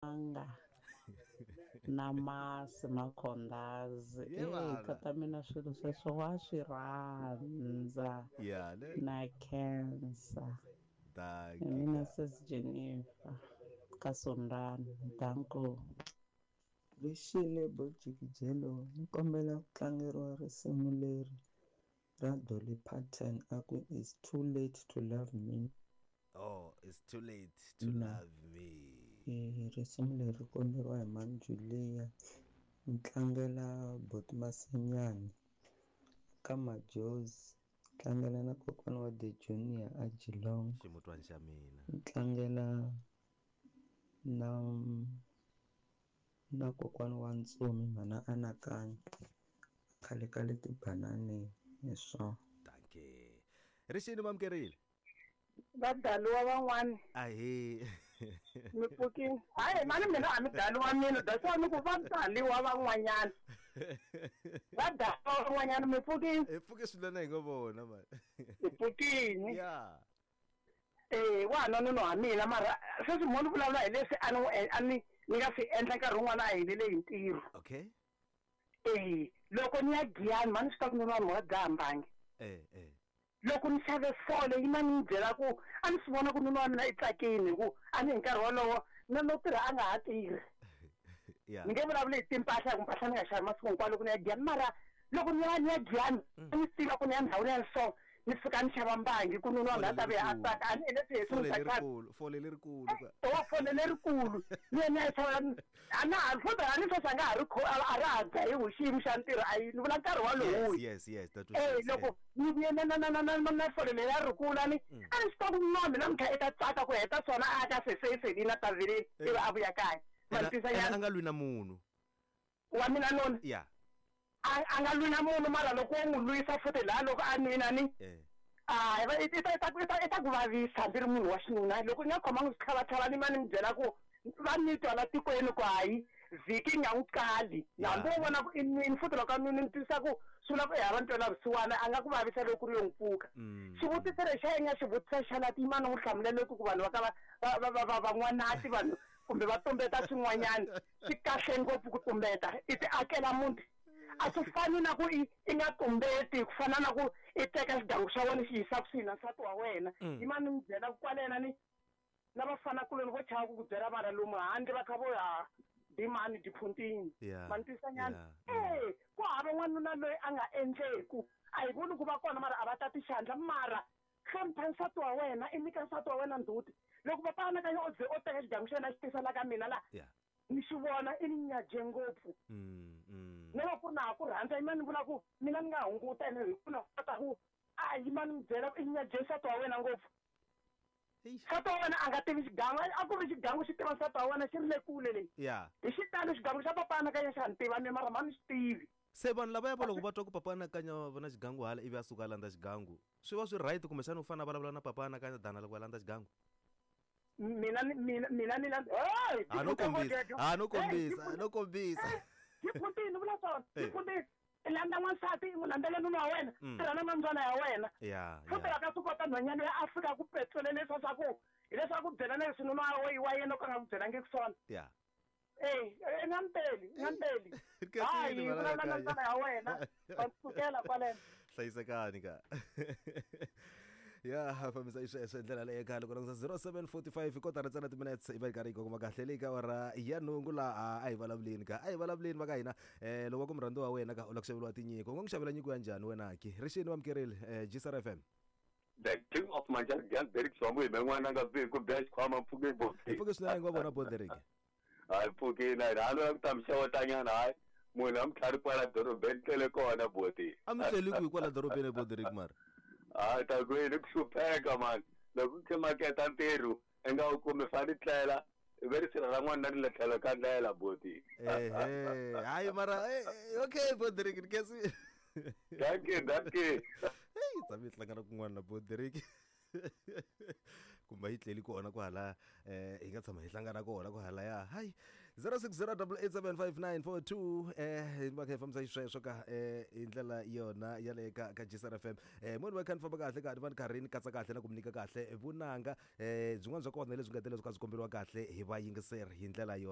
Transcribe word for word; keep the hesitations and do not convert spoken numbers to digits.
Timanga na masi makhondazi. Ye vana. Tata mina swilo sweswo wa swi rhandza. Yeah, ne? Na cancer. Dankie. Mina sis Jennifer ka Sondani. Danko. Rixile Bojikijelo ni kombela ku tlangeriwa risimu leri ra Dolly Parton a ku It's Too Late to Love Me. Oh, it's too late to No. love me. Eh, risimu leri ri komberiwa hi Manjulia. Ni tlangela Boti Masinyani ka Majozi. Tlangela na kokwana wa The Junior a Geelong. Ximutwana xa mina. Ni tlangela na na kokwana wa Ntsumi mhana Anakanya khale ka le tibananeni hi swona. Dankie. Rixini mamukerile. Va daliwa van'wani. Ahee. Mi pfukile. Hayi mani mina a mi daliwa mina, that's why ni ku va daliwa van'wanyana. Va daliwa van'wanyana mi pfukile. Hi pfuke swinene hi ngo vona mani. Hi pfukile. Yeah. Eh, wa ha nwa wa mina mara sweswi mo ni vulavula hi leswi a ni a ni ni nga swi endla nkarhi wun'wana a helele hi ntirho. Okay. Eh, loko ni ya Giyani mani swi ta ku nuna vanhu va dzaha mbangi. Eh, eh. Loko ni xave fole yi ma ni byela ku a ni swi vona ku nuna wa mina i tsakile hi ku a ni hi nkarhi wolowo na no tirha a nga ha tirhi. Yeah. Ni nge vulavuli hi timpahla ku mpahla ni nga xavi masiku hinkwawo loko ni ya Giyani mara loko ni ya ni ya Giyani a ni tiva ku ni ya ndhawini ya so ni fika ni xava mbangi ku nuna wa mina a ta vuya a tsaka a ni endle swi Fole hi lerikulu, fole lerikulu ka. o fole lerikulu ni ya ni ya xava a na ha futhi a ni sweswi a nga ha ri kho a ra ha dzahiwi xiyimo xa ntirho a yi ni vula nkarhi walowo. Yes, yes, yes, that was Eh, loko ni vuye na na na na na na na fole leri a ri kula ni a ni swi tiva ku nuna wa mina namuntlha i ta tsaka ku heta swona a ka seseselini a ta vileni ivi a vuya kaya. Ma ni twisa a nyana nga lwi na munhu. Wa mina noni? Yeah. A a nga lwi na munhu mara loko wo n'wi lwisa futhi laha loko a nwina ni Eh. a i ta i ta i ta i ta ku vavisa hambi ri munhu wa xinuna loko i nga khomangi switlhavatlhava ni ma ni mi byela ku va ni twa la tikweni ku hayi vhiki nga n'wi kali hambi wo vona ku i nwini futhi loko a nwini ni twisisa ku swi vula ku i hava ntwela vusiwana a nga ku vavisa loko ku ri yo n'wi pfuka. Xivutiso lexi xa nga xivutiso xa la ti yima ni n'wi hlamulele ku ku vanhu va ka va va va va va van'wanati vanhu kumbe va tumbeta swin'wanyana swi kahle ngopfu ku tumbeta i ti akela muti. A swi fani na ku i i nga tumbeti ku fana na ku i teka xigangu xa wena xi yisa kusuhi na nsati wa wena. Yima ni mi byela ku kwalena ni na vafanakuloni vo chava ku ku byela vana lomu handle va kha vo ya dimani diphuntini. Ma ni twisa nyana? Eh, ku hava n'wanuna loyi a nga endleku a hi voni ku va kona mara a va tati xandla mara hlonipha nsati wa wena i nyika nsati wa wena ndzhuti loko papa anakanya o ze o teka xigangu xa yena xi tisa la ka mina la ni xi vona i ni nyaje ngopfu. Ni va ku ri na ha ku rhandza yima ni vula ku mina ni nga hunguta ene hi ku na kota ku a yima ni mi byela ku i nyaje nsati wa wena ngopfu. Nsati wa wena a nga tivi xigangu a ku ri xigangu xi tiva nsati wa wena xi ri le kule leyi. Yeah. Hi xitalo xigangu xa papa anakanya xa ni tiva mina mara mani xi tivi. Se vanhu lavaya va loko va twa ku papa anakanya va na xigangu hala ivi a suka a landza xigangu swi va swi right kumbexana u fanele a vulavula na papa anakanya dana loko a landza xigangu? Mina mina mina ni landza hey a no kombisa a no kombisa a no kombisa diphuntini vula swona diphuntini i landza n'wansati i n'wi landzela nuna wa wena tirha na mambyana ya wena futhi va ka swi kota nhwanyana loyi a fika ku petrole leswa swa ku hileswaku byela na leswi nuna wa yena o ka nga ku byelangiki swona. Yeah. Eh, i nga mpeli i nga mpeli hayi vulavula na ntsana ya wena va sukela kwaleno. Hlayisekani ka. Ya fambisa isweswo hi ndlela leyo khale ku langutisa zero seven forty five kotara ntsena timinutes i va yi karhi yi kongoma kahle leyi ka awara ya nhungu laha a hi vulavuleni ka a hi vulavuleni va ka hina um loko va ku murhandzi wa wena ka u lava ku xaveriwa tinyiko u nga n'wi xavela nyiko ya njhani wena ki rixini vamukerile G S R F M. The king of Manjani Derek Swamu hi n'wana nga vi ku biya xikhwama mpfhuke bo. Hi pfuke swinene nga vona bo Derek. Hayi pfukile a ni lava ku ta mi xewetanyana hayi munhu a mi tlhari kwala dorobeni tlele kona boti. A mi tleli kwihi kwala dorobeni bo Derek mara? Hayi ta ku yini ku hlupheka mani loko ku maketa ntirho i nga wu kumi fani tlela ve ri sirha ra n'wana ri le tlhelo ka ndlela boti. Ehe hayi mara okay bo Derek ni kesi. Thank you, thank you. Hey tshame hi hlangana kun'wana na bo Derek. Kumbe yi tleli kona kwahala eh hi nga tshama hi hlangana kona kwahalaya hayi zero six zero double eight seven five nine four two eh va kha hi fambisa xisweswo ka eh hi ndlela yona ya le ka ka G S R F M. eh moni va kha ni famba kahle ka ni va ni karhi ni katsa kahle na ku mi nyika kahle vunanga eh byin'wana bya kona lebyi nga tele byi kha byi komberiwa kahle hi vayingiseri hi ndlela yona.